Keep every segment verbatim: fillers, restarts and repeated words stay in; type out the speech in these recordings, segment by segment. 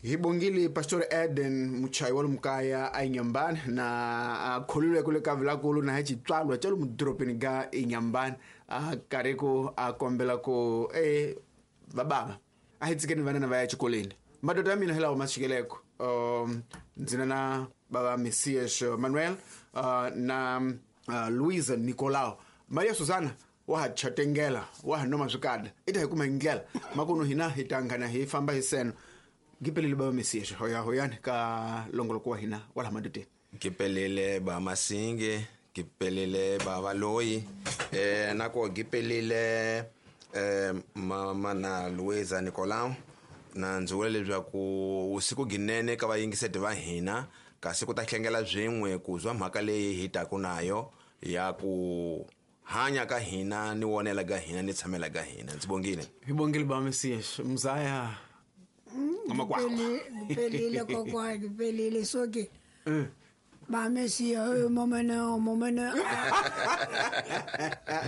Hi bongile Pastor Eden muchayi wa lumkaya a Inyambani na kholulwe kule ka vilakulu na hi xitswalwa xa lomu doropeni ga Inyambani a karhi ku a kombela ku e vababa a hi tshikeni vanana va ya exikolweni. Madoda ya mina hi lawa ma xikeleko um ndzi na na baba Messias Manuel uh, na uh, Luisa Nicolau. Maria Susana wa ha chatengela wa ha noma swikada i ta hi kuma hi ndlela makunu hina hi tangana hi famba hi seno. Ngipelele baba Messias hoya hoyani ka longoloko wa hina wala madoteni. Ngipelele ba Masinge, ngipelele baba Loyi, eh nako ngipelele eh mama na Luisa Nicolau. Na ndzi vula leswaku usiku ginene ka vayingiseti va hina kasi ku ta hlengela swin'we ku zwa mhaka leyi hi taku nayo ya ku hanya ka hina ni wonela ka hina ni tshamela ka hina. Ndzi bongile. Hi bongile ba Messias mzaya ngamakwakwa. Ngipelile kokwa, ngipelile soke. Ba Messias momena momena.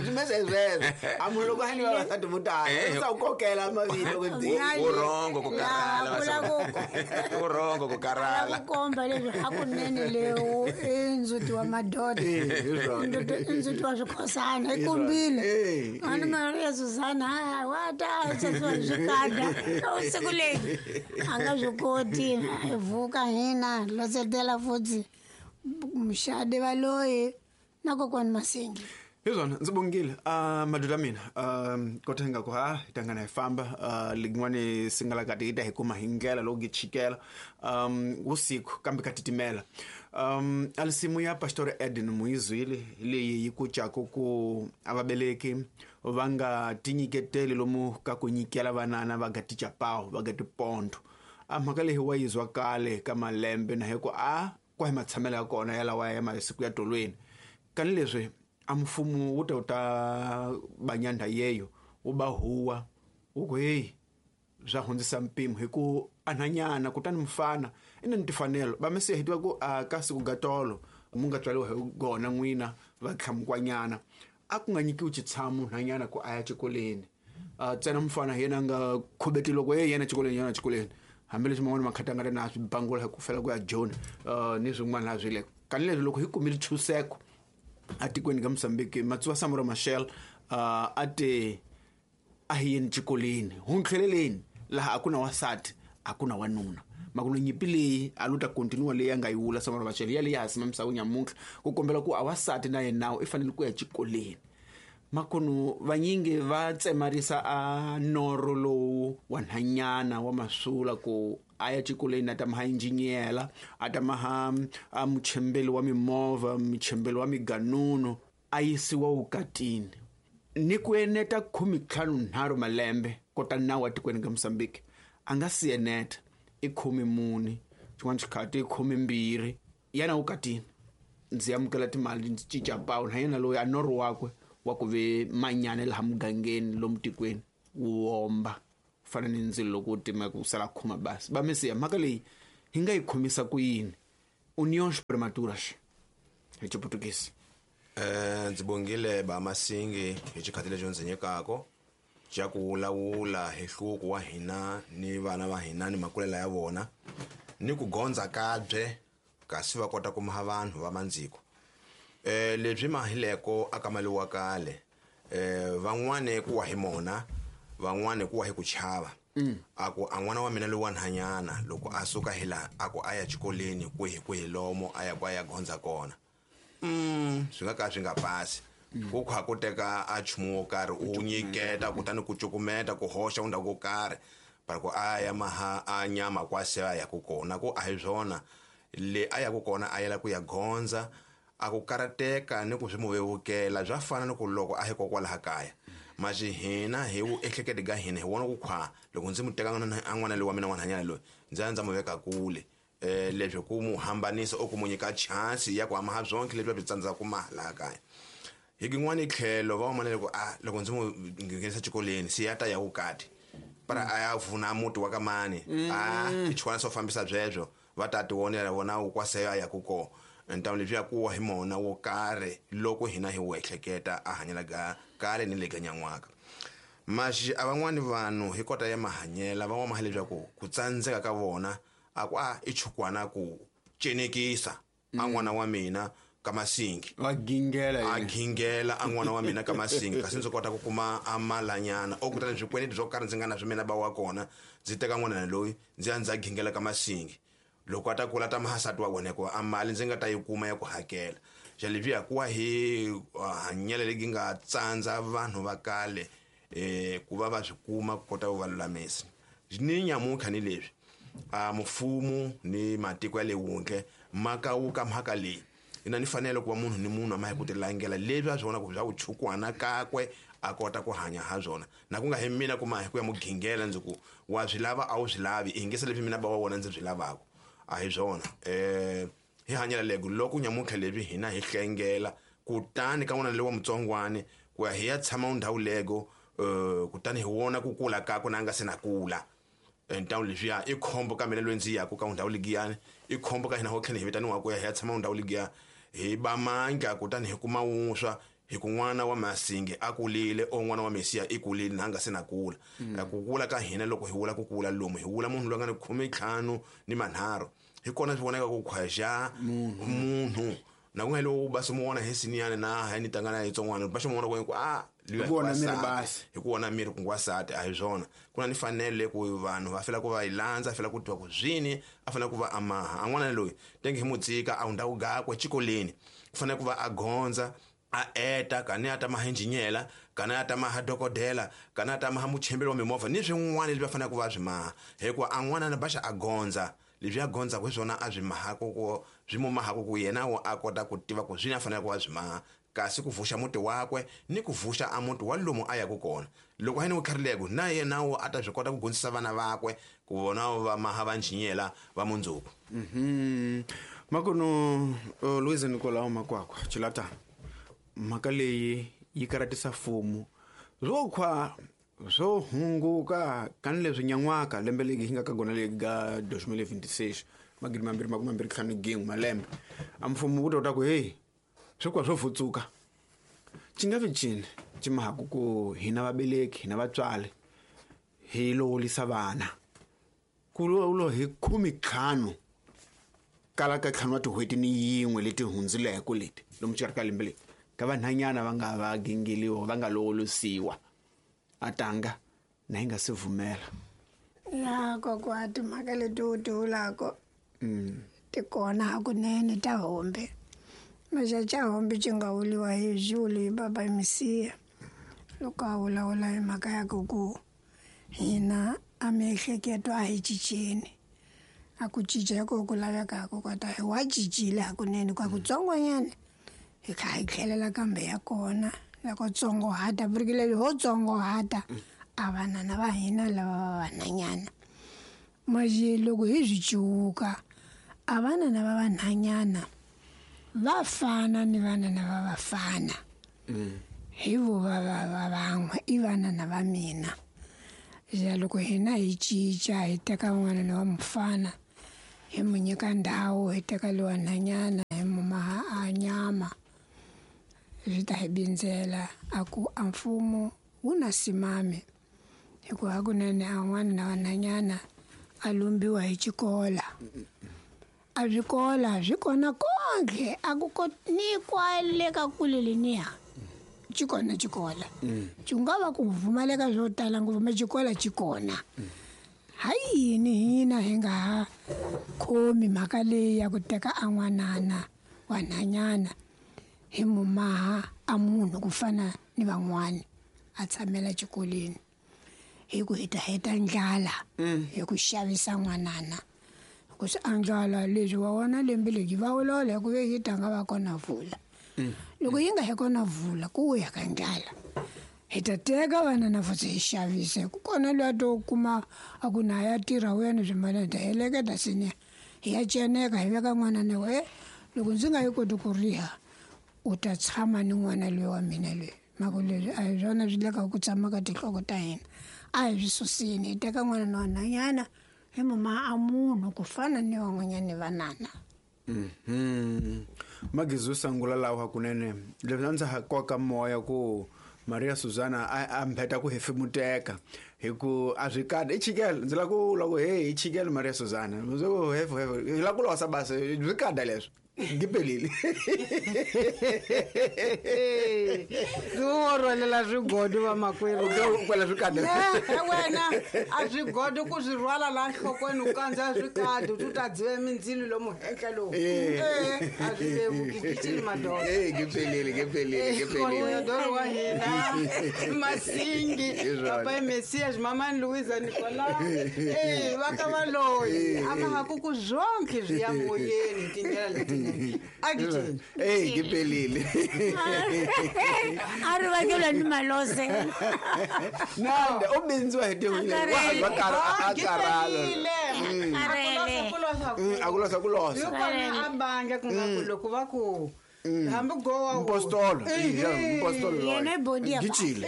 Zimezezwe. Amulo kwa hani wa tatu sa ukokela mavito kwedzi. Urongo kukarala. Urongo kukarala. Kukomba leswi hakunene leo enzuti wa madoda. Enzuti wa swikhosana ikumbile. Ani Maria Susana wa ta tsotso swikada. Usiku leyi anga swikoti vuka hina lotsetela futhi. Mshade valoyi na kokwani Masingi. Hizona ndzi bongile uh, madoda mina um kotenga ku ha tangana hi famba uh, lin'wani singala kati hi ta hi kuma hi ndlela loko gi chikela um usiku kambe ka titimela. um alisimu ya Pastor Eden Muizwile leyi yi kucaku ku avabeleki va nga tinyiketeli lomu ka ku nyikela vanana va ga tichapawu va ga tipondo. A mhaka leyi wa yizwa kale ka malembe na hi ku a kwa hi matshamelo ya kona ya lawa ya masiku ya tolweni. Kani leswi a mfumo wu ta wu ta banyanda yeyo wu ba huwa wu ku hey swa hundzisa mpimo hi ku anhanyana kutani mfana i na ni tifanelo. Va Mesiya hi tiva ku a ka siku ga tolo mu nga tswariwa hi gona n'wina va tlhamukwanyana a ku nga nyikiwi xitshamo nhanyana ku a ya xikolweni. Ntsena mfana hi yena a nga khubeti loko ye yena xikolweni yena xikolweni hambileswi man'wana makhata nga ri na swi bangula hi ku fela ku ya Joni uh, ni swin'wana laha swi le kani leswi loko hi kumile chuseko atikweni ka Mozambique Matsuwa Samora Machel uh, a te a hi yeni xikolweni huntlheleleni laha a ku na wasati a ku na wanuna. Makuno nyimpi leyi a lu ta continue leyi a nga yi wula Samora Machel ya leyi ha simamisa ku nyamuntlha ku kombela ku a wasati na yena nawu i fanele ku ya xikolweni. Makunu vanyingi va tsemarisa a noro lowu wa nhanyana wa masula ku a ya xikolweni a ta maha injinyela a ta maha a muchembeli wa mimovha muchembeli wa miganunu a yisiwa wukatini ni ku eneta khume ntlhanu nharhu malembe kota nawu wa tikweni ka Mozambique a nga si eneta i khume mune xin'wana xikhathi i khume mbirhi yana wukatini. Ndzi amukela timali ndzi cinca pawu na yena loyi a noro wakwe wa ku ve manyana laha mugangeni lomu tikweni wu womba fana ni ndzilo loko wu timeka ku sala khuma basi. Va Mesiya mhaka leyi hi nga yi khomisa ku yini uniões prematuras hi Xiputukisi? Eh ndzi bongile ba Masingi hi xikhathi lexi ndzi nyikaka xa ku vulavula hi hluku wa hina ni vana va hina ni makulela ya vona ni ku gondza kabye kasi va kota ku maha vanhu va mandziko. Eh lebyi mahileko aka mali wa kale eh van'wane ku wa hi mona van'wane ku wa hi ku chava a ku a n'wana wa mina loyi wa nhanyana loko a suka hi la a ku a ya xikolweni kwihi kwihi lomo a ya ku a ya gondza kona mm swi nga ka swi nga pasi ku kha ku teka a nchumu wo karhi u nyiketa kutani ku cukumeta ku hoxa undhawu ko karhi para ku a ya maha a nyama kwase a ya ku kona ku a hi swona le a ya ku kona a yela ku ya gondza a ku karateka ni ku swi mu vevukela bya fana ni ku loko a hi kokwalaha kaya maxi hina hi wu ehlekete ka hina hi vona ku khwa loko ndzi mu teka a n'wana loyi wa mina n'wanhanyana loyi ndzi ya ndza mu veka kule eh leswi ku mu hambanisa o ku mu nyika chance ya ku hamaha byonke lebyi byi tsandzaka ku maha laha kaya. Hi kin'wani tlhelo va vona loko a loko ndzi mu nghenisa xikolweni se ya ta ya vukati para a ya vuna muti wa ka mani a i chwana swo fambisa byebyo va ta tivonela vona wu kwase ya ku kona. Ntamu lebyi ya ku wa hi mona wo karhi loko hina hi wu ehleketa a hanyela ga kale ni le ka nyan'waka. Maxi a van'wani vanhu hi kota ya mahanyela van'wana maha leswaku ku tsandzeka ka vona a ku a i chukwana ku cenekisa a n'wana wa mina ka Masingi wa gingela a gingela a n'wana wa mina ka Masingi kasi ndzi kota ku kuma a malanyana o kutani swikweleti swo karhi ndzi nga na swi mina ba wa kona ndzi teka n'wana loyi ndzi ya ndzi ya gingela ka Masingi loko a ta kula ta mahasati wa vona hikuva a mali ndzi nga ta yi kuma ya ku hakela xa leswiya ku wa hi hanyela legi nga tsandza vanhu va kale eh ku va va swi kuma ku kota ku va lulamisa ni nyamuntlha ni leswi a mfumo ni matiko ya le wundle ma kawuka mhaka leyi ina ni fanele ku va munhu ni munhu a ma hi ku tilangela leswi a swi vona ku bya vuchukwana kakwe a kota ku hanya ha swona na ku nga hi mina kuma hi ku ya mugingela ndzi ku wa swi lava a wu swi lavi i ngese leswi mina ba wa wona ndzi swi lavaka a hi swona eh hi hanyela lego loko nyamuntlha leswi hina hi hlengela kutani ka n'wana lowa mutsongwani ku ya hi ya tshama ndhawu lego eh kutani hi wona ku kula kakwe na nga se na kula ntawu leswiya i khombo ka mina loyi ndzi yaku ka ndhawu ligiyani i khombo ka hina ho tlhela hi vitaniwa ku ya hi ya tshama ndhawu ligiya hi ba mandla kutani hi kuma wuswa hi ku n'wana wa Masingi a kulile o n'wana wa Mesiya i kulile na nga se na kula ku kula ka hina loko hi vula ku kula lomu hi vula munhu loyi a nga ni khume ntlhanu ni manharhu hi kona swi vonaka ku khwaxa munhu na ku nga lo ba se mu vona hi siniyani na ha ni tangana hi tsongwana ba xi mu vona ku a hi ku vona miri basi hi ku vona miri ku ngwasati a hi swona ku na ni fanele ku vanhu va fela ku va yi landza fela ku twa ku zwini a fanele ku va amaha an'wana loyi tenge hi mutsika a hundza ku gakwe xikolweni ku fanele ku va a gondza a eta kana a ta maha injinyela kana a ta maha dokodela kana a ta maha muchembeli wa mimovha ni swin'wana leswi va fanele ku va swi maha hikuva an'wana na baxa a gondza leswi a gondzaka hi swona a swi mahaka ku swi mu mahaka ku yena wo a kota ku tiva ku swini a fanele ku va swi maha kasi ku vuxa muti wakwe ni ku vuxa a muti wa lomu a yaku kona loko a ni wu na yena wo a ta swi kota ku gondzisa vana vakwe ku vona va maha va njinyela va mundzuku mhm makono Louise Nicolau Makwakwa Chilata mhaka leyi yi karatisa fumu swo khwa swo hunguka kani leswi nyan'waka lembe leri hi nga ka gona leri ga twenty twenty-six magidi mambirhi makume mambirhi ntlhanu gin'we malembe a mfumo wu ta ku hey swo kwa swo futsuka xi nga vi cini xi mahaku ku hina vabeleki hina vatswari hi lovolisa vana ku lo hi khume ntlhanu kala ka ntlhanu wa tin'hweti ni yin'we leti hundzileke leti lomu xikarhi ka lembe leri ka vanhanyana va nga va gingeliwa va nga lovolisiwa a tanga na yi nga se vumela ya kokwa timhaka leti u ti vulaka ti kona hakunene ta hombe maxa hombe xi nga vuliwa hi Zulu hi baba Mesiya loko a vulavula hi mhaka ya ku ku hina a miehleketo a hi cinceni a ku cinca hi ko ku lavekaka kota hi wa cincile hakunene kwa kutsongonyana hi kha hi tlhelela kambe ya kona loko tsongohata vurikile ho tsongohata a vanana va hina lava va vanhanyana maje loko hi swi ciwuka a vanana va vanhanyana va fana ni vanana va vafana hi vo va va va van'we i vanana va mina ja loko hina hi cinca hi teka n'wana wa mufana hi mu nyika ndhawu hi teka lowa nhanyana hi mu maha a nyama swi ta hi bindzela a ku a mfumo wu na simame hikuva hakunene a n'wana na vanhanyana a lumbiwa hi xikola a swikola swi kona konke a ku ni kwale ka kule leniya xi kona xikola xi nga va ku pfumaleka swo tala ngopfu me xikola xi kona ha yini hina hi nga ha khomi mhaka leyi ya ku teka a n'wanana wa nhanyana hi mu maha a munhu ku fana ni van'wani a tshamela xikolweni hi ku hi ta heta ndlala hi ku xavisa n'wanana ku swi andlala leswi wa wona lembe leri va vulavula hi ku ve yi tanga va kona vula loko yi nga he kona vula ku ya ka ndlala hi ta teka vanana futhi hi xavisa ku kona loyi a to kuma a ku na ya tirha wena swimalana hi ta heleketa seniya hi ya ceneka hi veka n'wana na we loko ndzi nga yi koti ku riha u ta tshama ni n'wana loyi wa mina loyi mhaka leswi a hi swona swi le ka ku tshama ka tinhloko ta hina a hi swi susini hi teka n'wana na wanhanyana hi muma a munhu ku fana ni van'wanyani vanana mhm magizu sangula lawa hakunene leswi a ndza ha koka moya ku Maria Susana a mbheta ku hefemuteka hi ku a swi kada i chikele ndzi la ku loko he i chikele Maria Susana ndzi ku hefu hefu hi la ku losa basa swi kada leswi ngipelile ndzi wo rhwalela swigodo vamakwerhu kwala swi kada wena a swigodo ku swi rhwala laha nhlokweni u kandza swikadi u ta dziva mindzilo lomu henhla lowu e a swi vevuki gicini madoda ngipelile ngipelile ngipelile doro wa hina Masingi papa Messias mamani Louisa Nicolas e va ka va loyi a ma ha ku ku zonke swi ya moyeni hi tindlela leti agitini eh ngipelile a ri vakelwa ni malose nanda u bindziwa hi tihunyi wa karhala a karhala a ku losa ku losa yikona a bandla ku nga ku loko va ku hambi gowa mpostolo mpostolo yena body ya gicile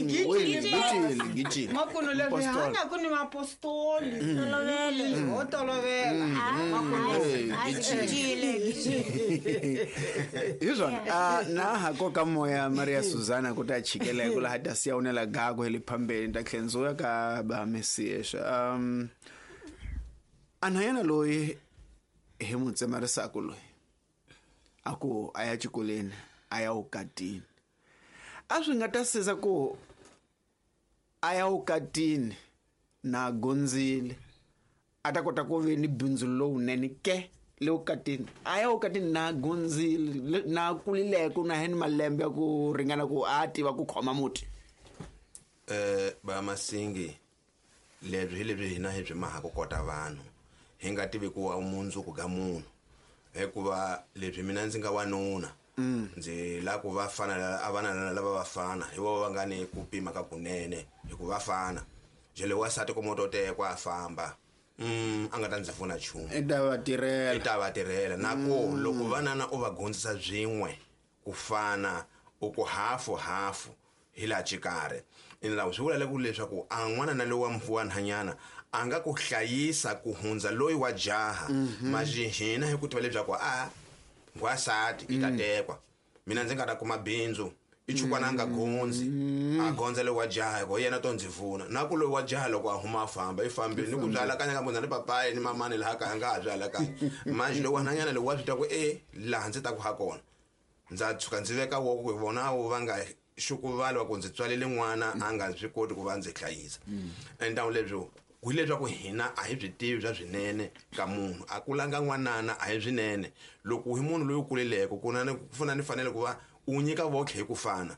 gicile gicile makuno leswi hanya ku ni mapostoli tolovele ho tolovela makuno gicile gicile hi swona na ha koka moya Maria Susana ku ta chikela ku laha ta siya unela gago hi le phambeni ta tlhenzuya ka ba Messias um anhayana loyi hi mu tsemarisaka loyi a ku a ya xikolweni a ya ukatini a swi nga ta siza ku a ya ukatini na gonzile a ta kota ku ve ni bindzu lowunene ke le ukatini a ya ukatini na gonzile na kulileko na heni malembe ya ku ringana ku a tiva ku khoma muti eh ba Masingi leswi hi leswi hina hi byi maha ku kota vanhu hi nga tivi ku wa mundzuku ka munhu hikuva leswi mina ndzi nga wanuna ndzi la ku va fana a vana lava va fana hi vona va nga ni ku pima ka kunene hikuva fana jele wasati ku moto tekwa a famba mm a nga ta ndzi pfuna nchumu i ta va tirhela i ta va tirhela na ku loko vanana u va gondzisa byin'we ku fana u ku hafu hafu hi laha xikarhi ina swi vula ku leswaku a n'wana na lowa mfuwa nhanyana a nga ku hlayisa ku hundza loyi wa jaha maji hina hi ku tiva leswaku a ngwasati i ta tekwa mina ndzi nga ta kuma bindzu i chukwana nga gondzi a gondza loyi wa jaha hikuva yena to ndzi pfuna na ku loyi wa jaha loko a huma a famba i fambile ni ku byalakanya ka vona ni papayi ni mamani laha kaya nga ha byalakanya manje loyi wa nhanyana loyi wa swi twa ku e laha ndzi ta ku ha kona ndza tshuka ndzi veka woko ku vona vo va nga xukuvala wa ku ndzi tswalele n'wana a nga swi koti ku va ndzi hlayisa endhawu lebyo hileswaku hina a hi byi tivi bya swinene ka munhu a kulanga n'wanana a hi swinene loko hi munhu loyi u kuleleko ku na ku fana ni fanele ku va u nyika votlhe hi ku fana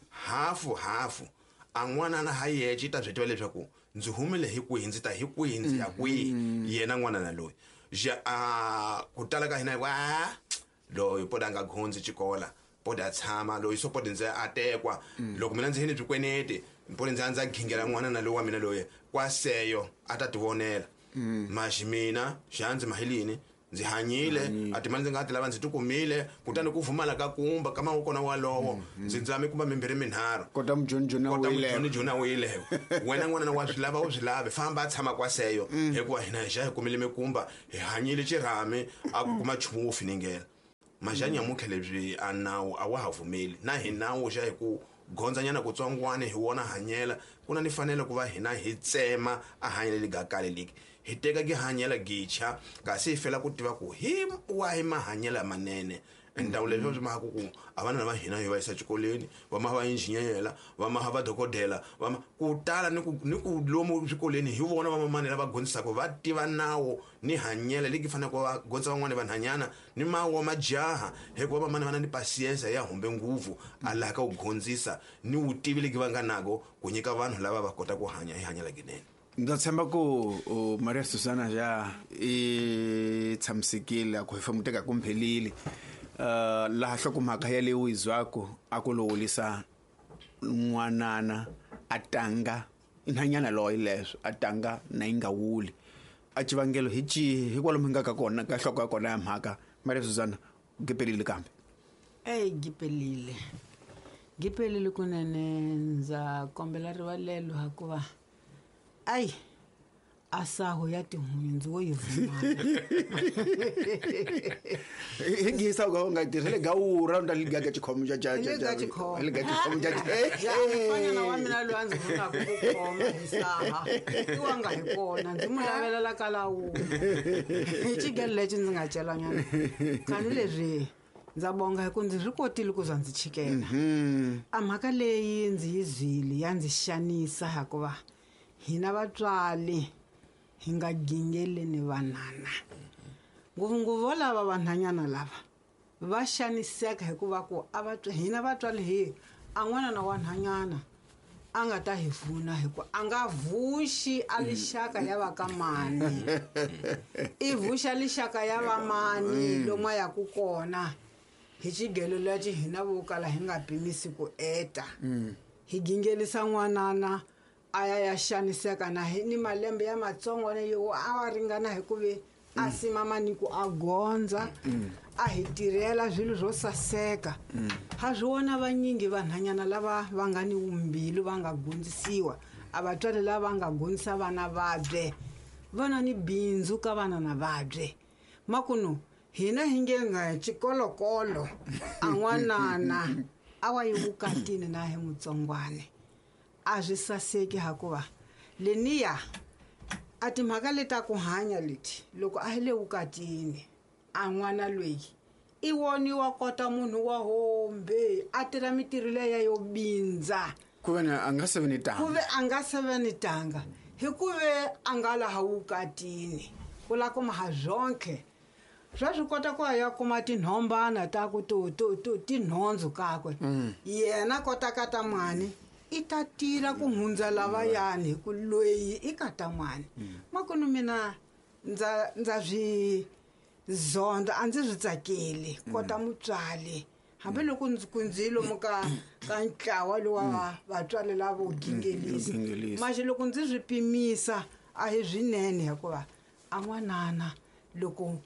hafu hafu a n'wanana ha yexe i ta byi tiva leswaku ndzi humile hi kwihi ndzi ta hi kwihi ndzi ya kwihi yena n'wanana loyi ja a ku tala ka hina wa loyi poda a nga gondzi xikola poda tshama loyi so poda ndzi a tekwa loko mina ndzi hini bikwenete mpone ndzi ndza gingela n'wana na loyi wa mina loyi kwaseyo a ta tivonela maxi mina xandzi mahilini ndzi hanyile a timali ndzi nga ti lava ndzi tikumile kutani ku vumala ka kumba ka mawukona walowo ndzi ndzame kumba mimbirhi minharhu kota mujoni kota mujoni jona wileyo wena n'wana wa swi lava u swi lavi famba a tshama kwaseyo hikuva hina hi xa hi kumile mikumba hi hanyile xirhami a ku kuma nchumu wo finingela majanya mukhe lebyi a nawu a wa ha vumeli na hi nawu xa hi ku gondzanyana kutsongwana hi wona hanyela ku na ni fanele ku va hina hi tsema a hanyela ligakale liki hi teka ki hanyela gicha kasi hi fela ku tiva ku hi wahi mahanyela manene endhawu leswi swi mhaka ku a vana va hina hi va yisa xikolweni va ma va injiniyela va ma va dokodela va ku tala ni ku ni ku lomu swikolweni hi vona va mamani lava gondzisaka va tiva nawu ni hanyela leki fanele ku va gondza van'wani vanhanyana ni mawa majaha hikuva vamani va na ni pasiensa ya humbe nguvu a laha ka ku gondzisa ni vutivi leki va nga nako ku nyika vanhu lava va kota ku hanya hi hanyela kinene. Ndza tshemba ku Maria Susana ja i tshamisekile a ku hefemuteka kumphelile uh laha hlokomhaka ya leyi izwako a ku lowulisa n'wanana a tanga nhanyana loyi leswo a tanga na yi nga wuli a xivangelo hi cihi hikwalomu hi nga ka kona ka nhloko ya kona ya mhaka Maria Susana gipelile kambe ey gipelile gipelile kunene ndza kombela rivalelo hikuva ayi A saho ya tihunyi ndzi wo yi vumana. Hi gisa u nga tirhele gawura u ta ligaga xikhomo xa xa Hi le ka xikhomo. hi le ka xikhomo xa Ja, mufanyana wa mina loyi a ndzi vunaka ku khoma hi saha i wa nga hi kona ndzi mu lavelela ka lawula hi xigelo lexi ndzi nga celanyana kani leswi ndza bonga hi ku ndzi swi kotile ku za ndzi chikela a mhaka leyi ndzi yi zwile ya ndzi xanisa hikuva hina vatswari hi nga gingeleni vanana ngopfungopfu lava vanhanyana lava va xaniseka hikuva ku a va hina vatswari hi a n'wana na wanhanyana a nga ta hi pfuna hikuva a nga vuxi a lixaka ya va ka mani i vuxa lixaka ya va mani lomu a yaku kona hi xigelo lexi hina vo kala hi nga pimisi ku eta hi gingelisa n'wanana a ya ya xaniseka na hi ni malembe ya matsongo yo a wa ringana hi ku ve a simama ni ku a gondza a hi tirhela swilo swo saseka ha swi vona vanyingi vanhanyana lava va nga ni vumbilu va nga gondzisiwa a vatswari lava va nga gondzisa vana vabye va na ni bindzu ka vana na vabye makunu hina hi nge nga xikolokolo a n'wanana a wa yi vukatini na hi mutsongwane a swi saseki hakuva leniya a timhaka leta ku hanya leti loko a hi le vukatini a n'wana loyi i woniwa kota munhu wa hombe a tirha mitirho leya yo bindza ku ve a nga se ve ni tanga ku ve a nga se ve ni tanga hikuve a nga laha vukatini ku la kuma ha zonke swa swi kota ku ya kuma tinhombana ta ku to to to tinhondzu kakwe yena kota ka ta mani i ta tira ku hundza lavayani hi ku loyi i ka ta n'wana makunu mina ndza ndza swi zonda a ndzi swi tsakeli kota mutswali hambiloko ndzi ku ndzi lomu ka ka ntlawa lowa vatswari lavo gingelisa maxi loko ndzi swi pimisa a hi swinene hikuva a n'wanana loko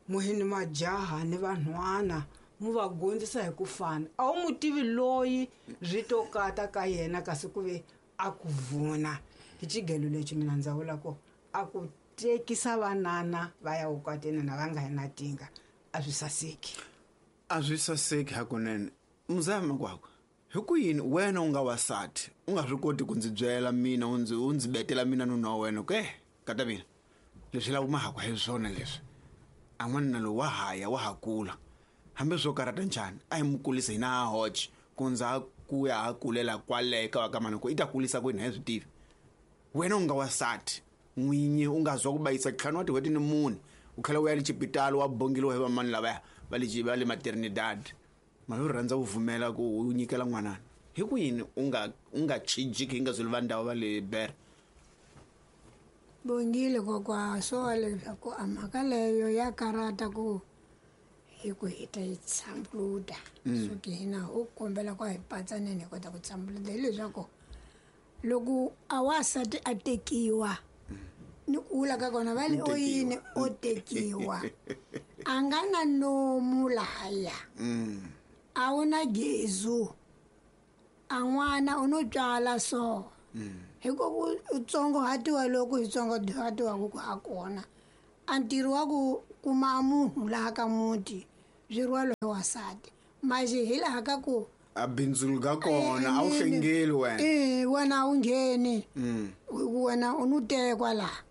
muhini majaha ni vanhwana mu va gondzisa hi ku fana a wu mu tivi loyi swi to kata ka yena kasi ku ve a ku vuna hi xigelo lexi mina ndza vula ku a ku tekisa vanana va ya vukatini na va nga hi na tinga a swi saseki a swi saseki hakunene muzaya makwakwa hi ku yini wena u nga wasati u nga swi koti ku ndzi byela mina u ndzi u ndzi betela mina nuna wa wena ke kata mina leswi lava mahakwa hi swona leswi a n'wanuna lowu wa haya wa ha kula hambi swo karata njhani a hi mu kulisa hina ha hoxe ku ndza ku ya ha kulela kwale ka va ka mani ku i ta kulisa kwini hi swi tivi wena u nga wasati n'winyi u nga zwa ku bayisa ntlhanu wa tin'hweti ni mune u tlhela u ya le xipitali wa bongeliwa hi vamani lavaya va le va le maternidad mali u rhandza ku vumela ku u nyikela n'wanana hi ku yini u nga u nga chijiki hi nga zweli va ndhawu va le bere bongile kokwa swo leswaku a mhaka leyo ya karata ku hi ku hi ta yi tshambuluta so ki hina ho kombela ku a hi patsaneni hi kota ku tshambuluta hileswaku loko a wasati a tekiwa ni ku vula ka kona va le o yini o tekiwa a nga na nomu lahaya a wu na gezu a n'wana u no tswala so hi ku u tsongohatiwa loko hi tsongohatiwaku ku ha kona a ntirho wa ku kuma munhu laha ka muti swi rhwala hi wasati maxi hi laha ka ku a bindzu ga kona a wu hlengeli wena e wena a wu ngheni wena u no tekwa laha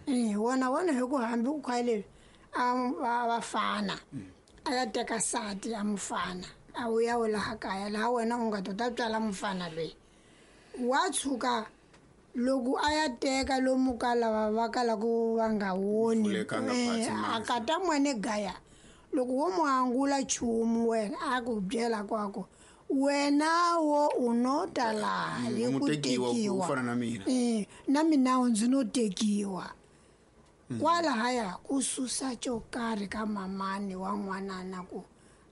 e wona wona hi ku hambi ku khwa leswi a va vafana a ya teka sati a mufana a wu ya wu laha kaya laha wena u nga to ta tswala mufana loyi wa tshuka loko a ya teka lomu ka lava va kalaku va nga woni a kata n'wana gaya loko wo mu angula nchumu wena a ku byela kwako wena wo u no ta laha hi ku tekiwa fana na mina eh na mina ndzi no tekiwa kwalahaya ku susa xo karhi ka mamani wa n'wanana ku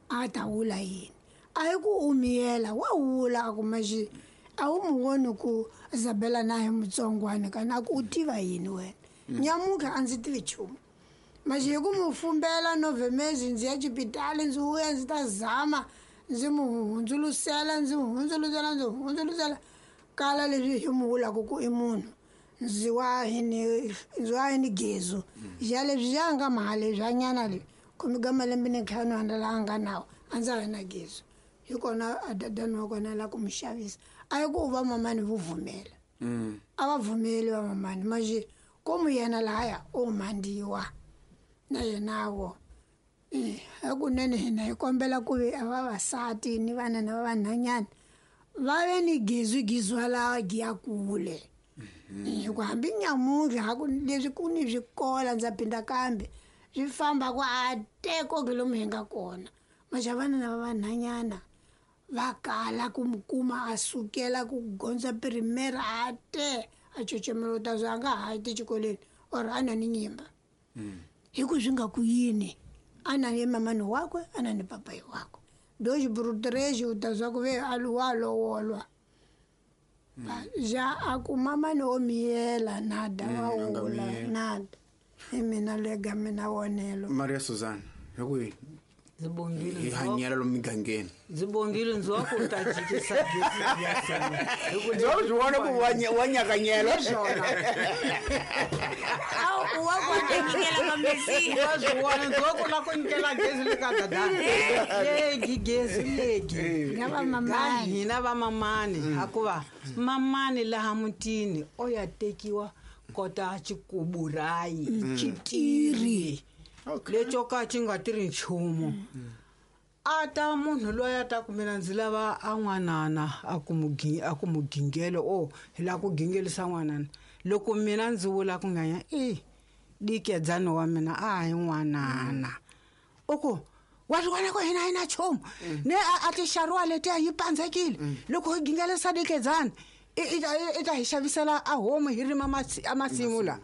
a ta wula yini a hi ku u miyela wa wula a ku maxi a wu mu voni ku Isabella na hi mutsongwana kana a ku u tiva yini wena nyamuka a ndzi tivi nchumu maxi hi ku mu fumbela novhemezi ndzi ya xipitali ndzi vuya ndzi ta zama ndzi mu hundzulusela ndzi mu hundzulusela ndzi mu hundzulusela kala leswi hi mu vulaka ku i munhu Ndzi wa hi ni ndzi wa hi ni gezu. Ja leswi ya nga mali bya nyana le. Khume ka malembe ni ntlhanu a la nga nawo a ndza ha na gezu. Hi kona a dadani wa kona la ku mu xavisa. A yi ku va mamani vo vumela. A va vumeli va mamani manje komu yena lahaya o mandiwa na yena wo. Eh, hakunene hina hi kombela ku ve a vavasati ni vana na vanhanyana va ve ni gezu gizwa la giya kule. Hi ku hambi nyamuntlha ha ku leswi ku ni swikola ndza phinda kambe swi famba ku a teko ke lomu hi nga kona. Maxa vana na vanhanyana va kala ku mu kuma a sukela ku gondza primera a te a cocemela ta zwa nga ha ti xikolweni or a na ni nyimba. Hi ku swi nga ku yini a na ni mamani wakwe a na ni papayi wakwe. Dois brutreji u ta zwa ku ve a wa lowolwa. Ja a ku mamani o miyela nada wa wula nada. Hi mina lega mina vonelo. Maria Susan, hi ku yini? Ndzi bongile hi hanyela lomu migangeni. Ndzi bongile ndzi wa ku ta jikisa gezi ya sena. Hi ku ndzi swi vona ku wa nyakanyela swona. Awu wa ku ta nyikela ka Mesiya. Wa swi vona ndzi wa ku la ku nyikela gezi le ka dadani. Legi gezi legi. Na va mamani. Hina va mamani hakuva mamani laha mutini o ya tekiwa kota xikuburayi xitiri. Leco ka xi nga tirhi nchumu. A ta munhu loyi a ta ku mina ndzi lava a n'wanana a ku mu a ku mu gingelo o hi lava ku gingelisa n'wanana. Loko mina ndzi vula ku nganya e dikedzani wa mina a hi n'wanana. U ku wa swi vona ku hina hi na nchumu ne a ti xariwa letiya yi pandzekile loko hi gingelisa dikedzani i i ta hi xavisela a homu hi rima a masimu la.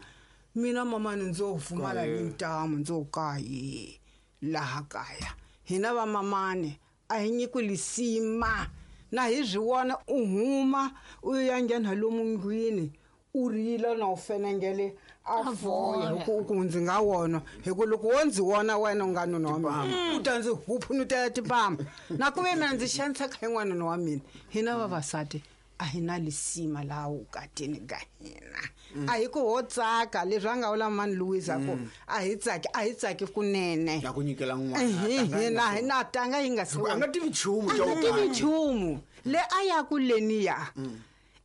Mina mamani ndzo pfumala ni ntamu ndzo kayi laha kaya. Hina va mamani a hi nyiku lisima na hi swi vona u huma u ya nghena lomu ndlwini u rila na u fenengele a voya hi ku ku ndzi nga wona hi ku loko wo ndzi wona wena u nga nuna wa mina u ta ndzi huphunutela tipama na ku ve mina ndzi xaniseka hi n'wanuna wa mina. Hina vavasati a hi na lisima laha vukatini ka hina. A hi ku ho tsaka leswi a nga vula mani Louisa ku a hi tsaki a hi tsaki kunene. Na ku nyikela n'wana. Hina hi na tanga yi nga si a nga tivi nchumu a nga tivi nchumu le a ya ku leniya.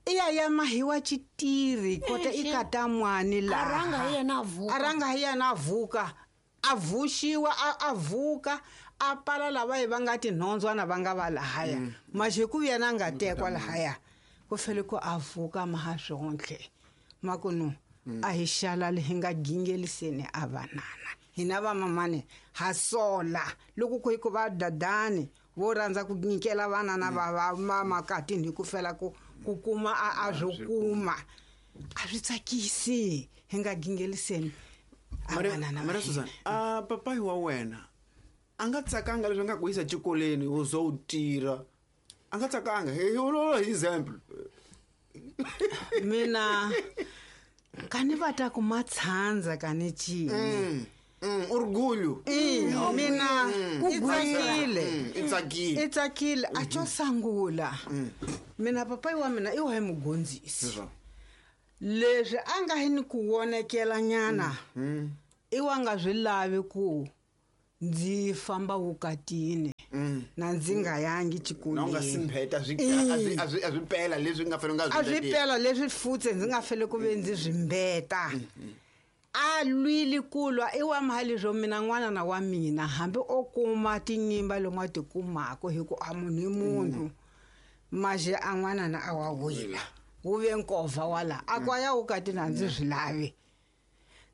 I ya ya mahiwa xitiri kota i kata mwani laha. A ranga hi yena a vuka. A ranga hi yena a vuka. A vuxiwa a vuka a pala lava hi va nga tinhondzwana va nga va lahaya. Maxe ku yena a nga tekwa lahaya. Ku fele ku a vuka maha swontlhe. Makunu a hi xalali hi nga gingeliseni a vanana. Hina va mamani ha sola loko ku hi ku va dadani vo rhandza ku nyikela vanana va va makatini hi ku fela ku ku kuma a a swo kuma. A swi tsakisi hi nga gingeliseni a vanana. Maria Susan, a papayi wa wena a nga tsakanga leswi nga ku yisa xikolweni u zo u tirha. A nga tsakanga hi hi example. Mina kani va ta ku matshandza kani cini. Mm, orgulho. Mm, mina i tsakile. I tsakile. I tsakile a xo sungula. Mina papayi wa mina i wa hi mugondzisi. Leswi a nga hi ni ku vonekela nyana. I wa nga swi lavi ku ndzi famba vukatini. Na ndzi nga yangi xikolweni. Na u nga simpheta swi a swi a swi pela leswi nga fanele nga swi. A swi pela leswi futse ndzi nga fele ku ve ndzi swi mbeta. A lwile ku lwa i wa mali swo mina n'wana na wa mina hambi o kuma tinyimba lomu a ti kumaka hi ku a munhu i munhu. Maxe a n'wana na a wa wila. Wu ve nkovha wala a ku ya vukatini a ndzi swi lavi.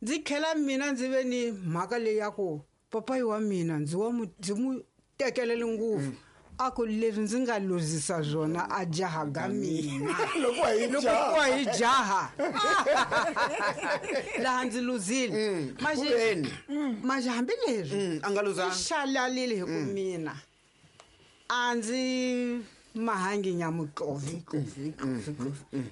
Ndzi tlhela mina ndzi ve ni mhaka leyi ya ku papayi wa mina ndzi wa mu ndzi mu tekelele ngopfu. A ku leswi ndzi nga luzisa swona a jaha ga mina. Loko hi loko hi jaha. Laha ndzi luzile. Maxe maxe hambi leswi a nga luzanga. Xalalile hi ku mina a ndzi mahangi nyamutlovi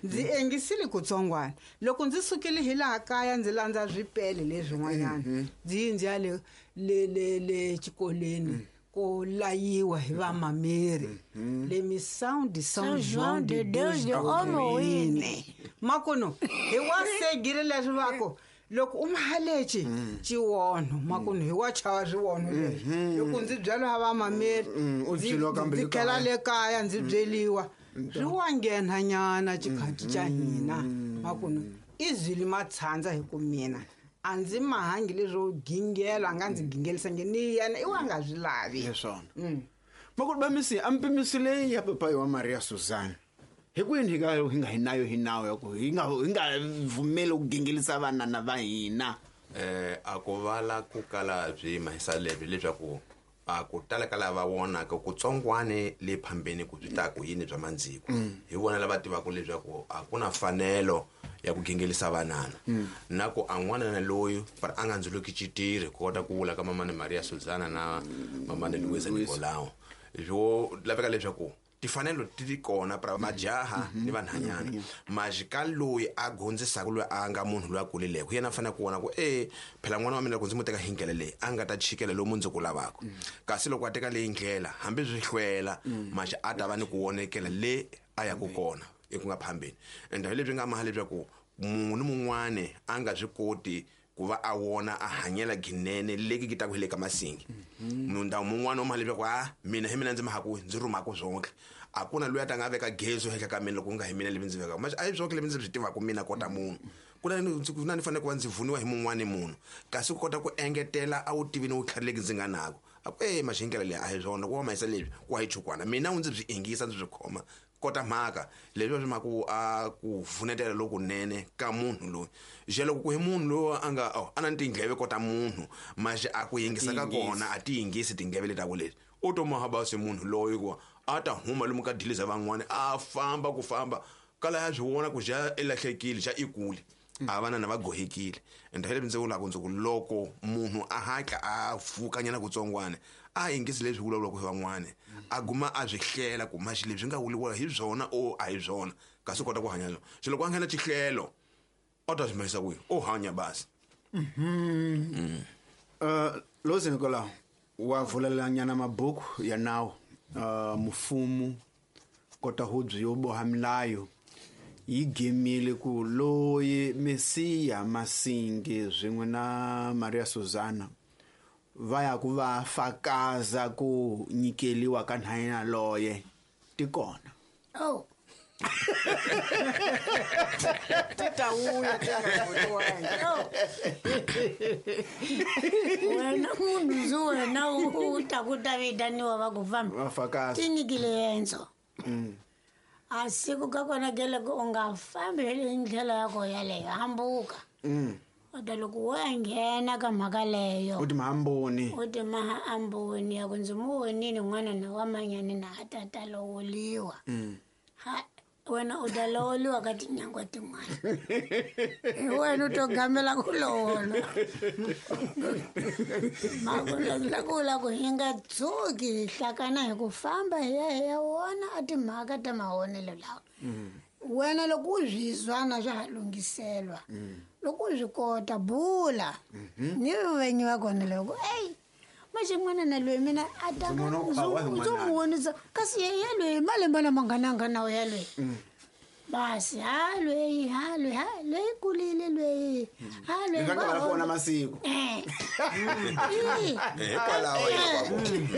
ndzi engisile kutsongwana. Loko ndzi sukile hi laha kaya ndzi landza swipele leswin'wanyana ndzi ndzi ya le le le le xikolweni ko layiwa hi vamameri le Missão de São João de Deus de Omoine. Makuno hi wa segile leswi vako loko u mahaleci xiwonho makuno hi wa chava swiwonho leswi loko ndzi byela va mameri ndzi tlhela le kaya ndzi byeliwa swi wa nghena nyana xikhathi xa hina makuno i zwili matshandza hi ku mina a ndzi mahangi leswo gingela a nga ndzi gingelisangi ni yena i wa nga swi lavi leswona makuno ba misi a mpimiso leyi ya papayi wa Maria Suzana hi kwini hi nga hi nga hi nayo hi nawu ya ku hi nga hi nga vumeli ku gingelisa vanana va hina eh a ku vala ku kala byi mahisa lebyi leswaku a ku tala ka lava vonaka ku tsongwane le phambeni ku byi ta ku yini bya mandziko hi vona lava tivaka leswaku a ku na fanelo ya ku gingelisa vanana na ku a n'wanana loyi a nga ndzuluki xitirhi ku kota ku vula ka mamani Maria Suzana na mamani Luisa Nicolao swo laveka leswaku tifanelo ti ti kona pra majaha ni vanhanyana majika loyi a gondzisaka loyi a nga munhu loyi a kulileko yena a fanele ku vona ku e phela n'wana wa mina loko ndzi mu teka hi ndlela leyi a nga ta chikela lomu ndzi ku lavaka kasi loko a teka leyi ndlela hambi swi hlwela maxi a ta va ni ku vonekela le a yaku kona eku nga phambeni ende hi leswi nga maha leswaku munhu ni mun'wani a nga swi koti ku va a wona a hanyela ginene leki ki ta ku hele ka masingi munhu mun'wana o maha leswaku a mina hi mina ndzi mahaku ndzi rhumaka swonke a ku na loyi a ta nga veka gezo henhla ka mina loko ku nga hi mina levi ndzi vekaka manje a hi swonke levi ndzi swi tivaka mina kota munhu ku na ku na ni fanele ku va ndzi vuniwa hi mun'wani munhu kasi ku kota ku engetela a wu tivi ni vutlhari leki ndzi nga nako a ku e maxi hi ndlela leyi a hi swona ku wa mahisa leswi ku wa hi chukwana mina u ndzi byi ingisa ndzi byi khoma kota mhaka leswi swi mhaka a ku vunetela lokunene ka munhu loyi je loko ku hi munhu loyi a nga a na tindleve kota munhu maxi a ku yingisa ka kona a ti yingisi tindleve leti ku leti u to mahabasi munhu loyi ku a ta huma lomu ka diliza van'wani a famba ku famba kala ya swi vona ku ja i lahlekile xa i kule a vanana va gohekile ende hi leswi ndzi vulaka ndzi ku loko munhu a hatla a pfukanyana kutsongwana a yingisi leswi vulavulaka hi van'wana a guma a swi hlela ku maxi leswi nga vuliwa hi byona o a hi byona kasi u kota ku hanya swona se loko a nghena xihlelo o ta swi mahisa kwihi o hanya basi Lozi Nicolau wa vulelanyana mabuku ya nawu uh, mufumu kota hubyi yo boha milayo yi gemile ku loyi Mesiya Masingi swin'we na Maria Suzana va ya ku va fakaza ku nyikeliwa ka nhanyana loye ti kona oh ti ta vuya ti nga vuriwangi wena munhu ndzi wena u ta ku ta vitaniwa va ku famba va fakaza ti nyikile endzo a siku ka kona ke loko u nga fambi hi ndlela ya ko yaleyo hambuka kodwa loko wo ya nghena ka mhaka leyo u ti mahamboni u ti mahamboni ya ku ndzi mu vonile n'wana na wa manyani na a ta ta lovoliwa ha wena u ta lovoliwa ka tinyangwa tin'wana hi wena u to gamela ku lovola makulakula ku hi nga tshuki hi hlakana hi ku famba hi ya hi ya wona a timhaka ta mahonelo lawa wena loko u swi zwana swa ha lunghiselwa loko u swi kota bula ni venyi va kona loko eyi maxi n'wana na loyi mina a ta ndzo mu vonisa kasi ye ya loyi malembe lama nga na nga nawu ya loyi basi ha loyi ha loyi ha loyi kulile loyi ha loyi va va vona masiku eh hikwalaho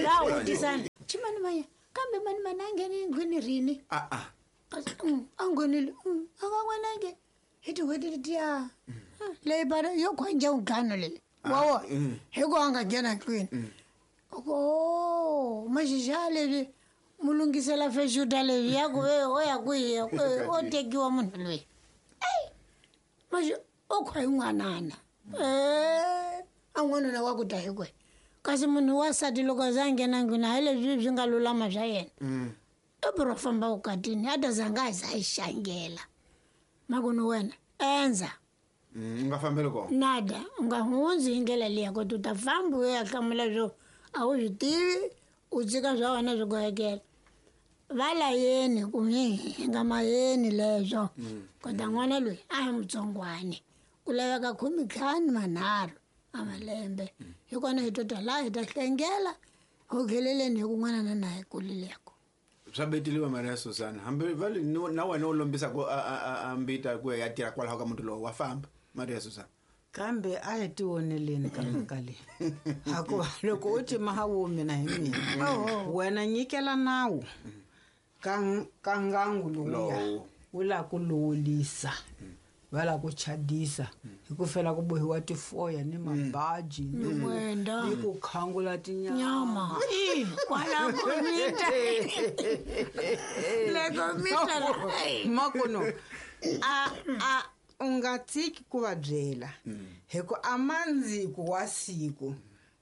va vutisana chimani manya kambe mani mani a nghene endlwini rini a a a nghenile a nga n'wanange hi tin'hweti letiya leyi bara yo khwanja ntlhanu leyi wa wona hi ku a nga nghena ndlwini o maxixa leswi mu lunghisela fexuta leswi ya ku ve o ya kwihi o tekiwa munhu loyi eyi maxi o khwa hi n'wanana e a n'wanuna wa ku ta hi kwe kasi munhu wasati loko a za a nghena ndlwini hayi leswi swi nga lulama swa yena i biro famba vukatini a ta za nga za yi xangela makunu wena endza u nga fambeli kona nada u nga hundzi hi ndlela liya koti u ta famba u ya hlamula swo a wu swi tivi u tshika swa wena swi gohekela va layeni ku hi nga mayeni leswo kota n'wana loyi a hi mutsongwani ku laveka khume ntlhanu manharhu a malembe hi kona hi to ta laha hi ta hlengela ho kheleleni hi ku n'wana na na hi kulileko Swa beteliwa Maria Susana hambi va na wena u lombisa ku a mbita ku ya tirha kwalaho ka muti lowu wa famba Maria Susana. Kambe a hi tioneleni ka mhaka leyi hakuva loko u ti mahawu mina hi mina wena nyikela nawu ka ka ngangu lowuya wu la ku lowulisa va la ku chadisa hi ku fela ku bohiwa tifoya ni mabaji ni ku khangula tinyama kwala ku mita leko mita makono a a u nga tshiki ku va byela hi ku amandziko wa siku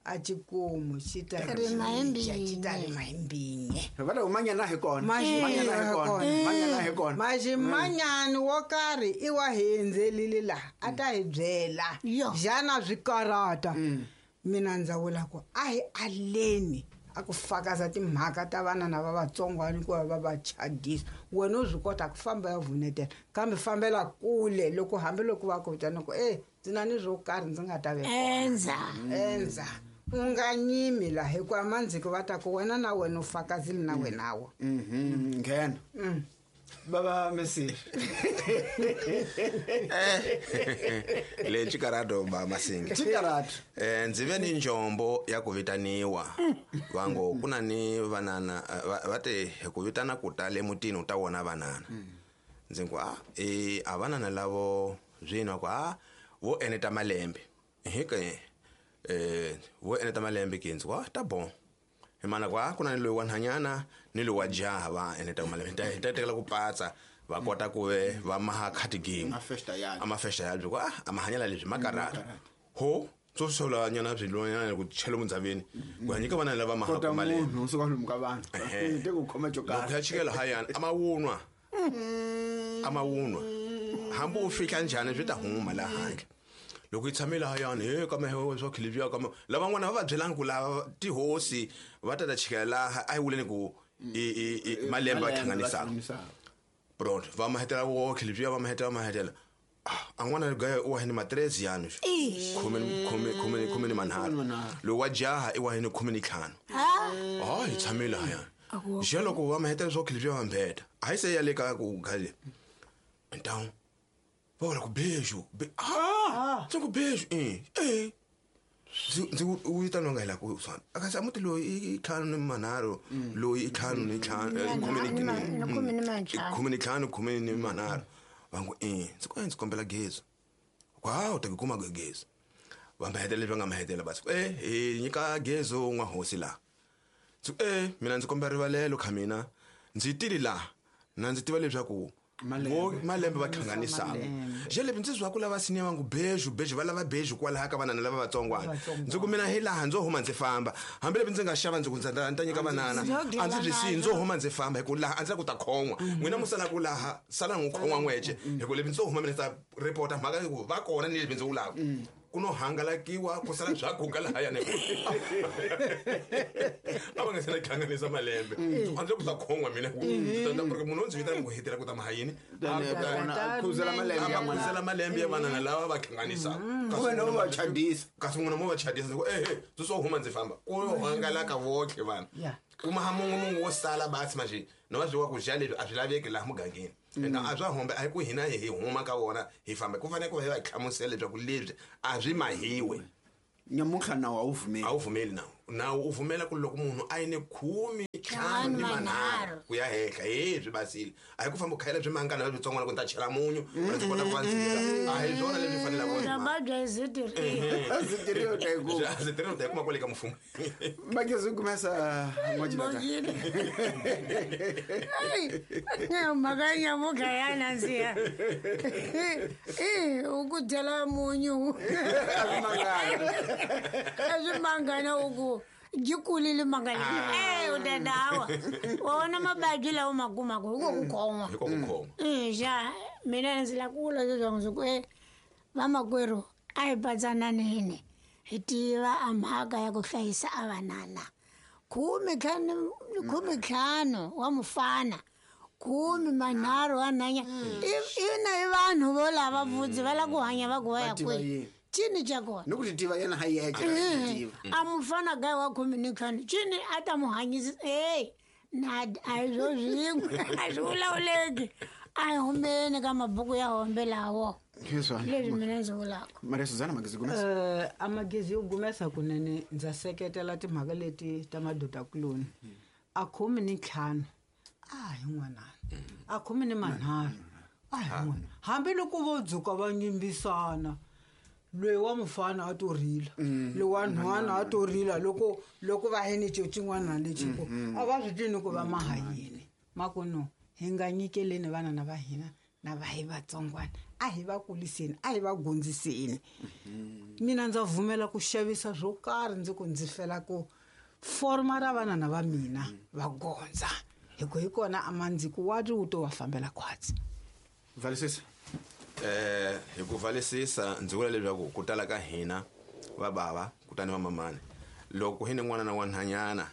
a xikomu xi ta rima hi xi ta rima hi mbinye va ta manyana hi kona manyana hi kona manyana hi kona maximanyani wo karhi i wa hi endzelile laha a ta hi byela xana swi karata mina ndza vula ku a hi aleni a ku fakaza timhaka ta vana na va vatsongwana ku va va va chadisa wena u swi kota ku famba ya vunetela kambe fambela kule loko hambiloko va ku vitana ku e ndzi na ni swo karhi ndzi nga ta ve endza endza u nga nyimi laha hikuva mandziko va ta ku wena na wena u fakazile na wenawo nghena baba Messi le chikarato ba Masinga chikarato eh ndzi ve ni njombo ya ku vitaniwa vango kuna ni vanana va te ku vitana ku ta le mutini u ta wona vanana ndzi ku a eh a vanana lavo zwino ku a vo eneta malembe hike eh vo eneta malembe ke ndzi ku a ta bon hi mana ku a ku na ni loyi wa nhanyana ni loyi wa jaha va eneta malembe ta ta tekela ku patsa va kota ku ve va maha khatigini a mafesta ya ku a a mahanyela leswi makarata ho tso sola nyana byi lonyana ku chela mundzaveni ku nyika vana lava maha ku malembe u suka lomu ka vanhu te ku khoma jo karhi loko ya chikela hayana a mawunwa a mawunwa hambi u fika njhani swi ta huma laha handle loko yi tshamile hayani he ka mehe swa khilivya ka lavan'wana va va byelanga ku lava tihosi va ta ta chikela laha a hi vuleni ku i i malembe va hlanganisaka bro va mahetela wo khilivya va mahetela va mahetela a n'wana gaya u wa hini matrezi yanu khume khume khume khume ni manharhu lowu wa jaha i wa hini khume ni ntlhanu ah hi tshamile hayani je loko va mahetela swa khilivya va mbeta a hi se ya le ka ku gale então va ku beijo ah ndzi ku beijo eh eh ndzi u vitaniwa nga hi la ku swana akasi a muti loyi i ntlhanu ni manharhu loyi i ntlhanu ni ntlhanu khume ni khume ni ntlhanu khume ni manharhu va ngo eh ndzi ku ndzi kombela gezi ku ha u ta ku kuma gezi va mahetela leswi va nga mahetela basi eh hi nyika gezi n'wa hosi laha ndzi ku eh mina ndzi kombela rivalelo kha mina ndzi tili laha na ndzi tiva leswaku malembe va hlanganisaka je lebyi ndzi zwa ku lava siniya va ngu beijo beijo va lava beijo kwalaha ka vanana lava vatsongwana ndzi ku mina hi laha ndzo huma ndzi famba hambi lebyi ndzi nga xava ndzi ku ndzi ta nyika vanana a ndzi byi siyi ndzo huma ndzi famba hi ku laha a ndzi la ku ta khon'wa n'wina mu sala ku laha sala n'wi khon'wa n'wece hi ku lebyi ndzo huma mina ta report mhaka ku va kona ni lebyi ndzi vulaka ku no hangalakiwa ku sala bya guga lahayani a va nga se na hlanganisa malembe a ndzi ku ta khon'wa mina ku munhu o ndzi vitana ku hetela ku ta mahayini khuzela malembe ya khuzela malembe ya vanana lava va hlanganisaka kasi wena u va chadisa kasi n'wina mo va chadisa ku ehe ndzi swo huma ndzi famba ku hangalaka votlhe vanhu kuma ha mungu mungu wo sala basi manje no va byiwa ku dya leswi a swi laveki laha mugangeni ende a swa hombe a hi ku hina hi huma ka wona hi famba ku fanele ku va hi va hlamusela leswaku leswi a swi mahiwe nyamuntlha nawu a wu vumeli a wu vumeli nawu nawu u vumela ku loko munhu a yi ni khume ntlhanu ni manharhu ku ya henhla he swi basile a hi ku famba u khayela byi mangana leswitsongwana ku ni ta chela munyu ndzi kota ku va ndzika a hi swona leswi fanelaka u ta yi kuma kwale ka mfumo makezi kumesa n'wacilaka mhaka ya nyamuntlha ya nandziha i u ku dyela munyu a swi mangana u ku byi kulile manga leyi e u ta dawa wa vona mabadi lawa ma kumaka hi ko ku khoma hi ko ku khoma xa mina ndzi la ku vula leswaku ndzi ku e vamakwerhu a hi patsananeni hi tiva a mhaka ya ku hlayisa a vanana khume ntlhanu khume ntlhanu wa mufana khume manharhu wa nhanya ina i vanhu vo lava vudzi va lava ku hanya va ku va ya kwihi cini xa kona ni ku ti tiva yena ha yexe a mufana gayi wa khume ni ntlhanu cini a ta mu hanyisa hey Na a hi swo swin'we a swi vulavuleki a hi humeni ka mabuku ya hombe lawo leswi mina ndzi vulaka. Maria Suzana Magezi Gumesa. Eh a Magezi yo Gumesa kunene ndza seketela timhaka leti ta madodakuloni. A khume ni ntlhanu a hi n'wanana, a khume ni manharhu a hi n'wana. Hambiloko vo dzuka va nyimbisana loyi wa mufana a to rila, loyi wa nhwana a to rila loko loko va yini xin'wana lexi ku a va swi tivi ku va maha yini. Ma ku no hi nga nyikeleni vana na va hina na va hi vatsongwana, a hi va kuliseni, a hi va gondziseni. Mina ndza vumela ku xavisa swo karhi ndzi ku ndzi fela ku forma ra vana na va mina va gondza hi ku hi kona a mandziko wa ri wu to va fambela khwatsi. Valisisa. Eh hi ku valisisa ndzi vula leswaku ku tala ka hina va bava kutani va mamani loko hi ni n'wana na wanhanyana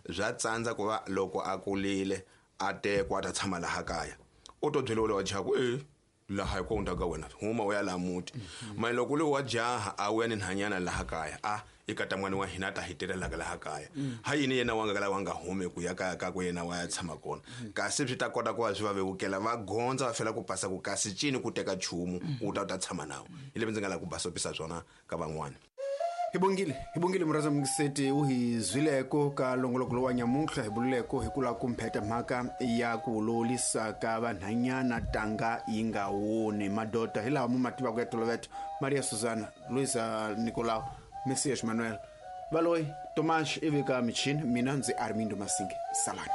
bya tsandza ku va loko a kulile a tekwa a ta tshama laha kaya u to byeriwa lowa jaha ku e laha hi ko ka wena huma u ya laha muti mani loko loyi wa jaha a wuya ni nhanyana laha kaya a i kata n'wana wa hina a ta hi tirhelaka laha kaya ha yini yena wa nga kala wa nga humi ku ya kaya ka ku yena wa ya tshama kona kasi swi ta kota ku va swi va vevukela va gondza va fela ku pasa ku kasi cini ku teka nchumu u ta u ta tshama nawo hi leswi ndzi nga lava ku basopisa swona ka van'wana. Hi bongile hi bongile murhandza mungiseti u hi zwileko ka longoloko lowa nyamuntlha hi bululeko hi ku lava ku mpheta mhaka ya ku lolisa ka vanhanyana tanga yi nga woni madoda hi laha mu ma tivaka ya toloveto. Maria Suzana, Luisa Nicolau, Messias Manuel, Valoyi Tomas ivi ka michini, mina ndzi Armindo Masinge. Salani.